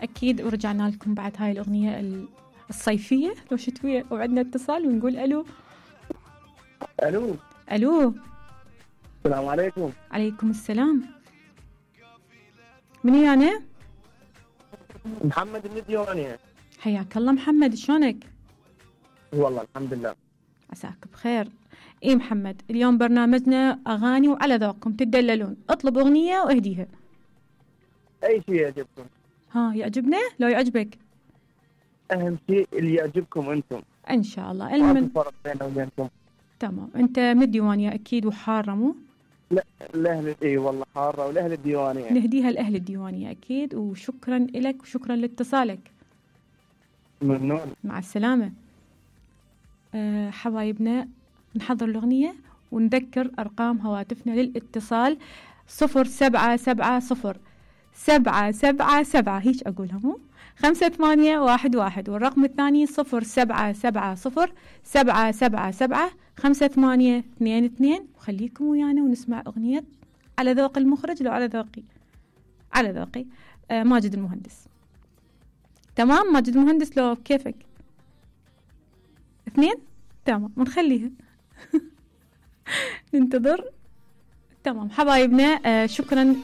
أكيد ورجعنا لكم بعد هاي الأغنية الصيفية لو شتوية، وعندنا اتصال ونقول ألو. الو ألو. السلام عليكم. عليكم السلام. من يعني؟ محمد الديواني. حياك الله محمد، شلونك؟ والله الحمد لله. عساك بخير. ايه محمد، اليوم برنامجنا أغاني وعلى ذوقكم تدللون، اطلب أغنية واهديها. أي شيء يعجبكم. ها يعجبنا لو يعجبك. أهم شيء اللي يعجبكم أنتم. إن شاء الله. ما في فرق بيننا وبينكم. تمام. أنت من الديوانية أكيد وحارة مو؟ لا الأهل إيه والله حارة، والأهل الديوانية. نهديها لأهل الديوانية أكيد، وشكرا لك وشكرا لاتصالك. ممنون. مع السلامة. حبايبنا نحضر الأغنية ونذكر أرقام هواتفنا للاتصال 0770 هيك أقولها مو 5811، والرقم الثاني 0770 وخليكم ويانا ونسمع أغنية على ذوق المخرج لو على ذوقي ماجد المهندس. تمام. ماجد المهندس لو كيفك 2 تمام ونخليها. ننتظر. تمام حبايبنا، شكرا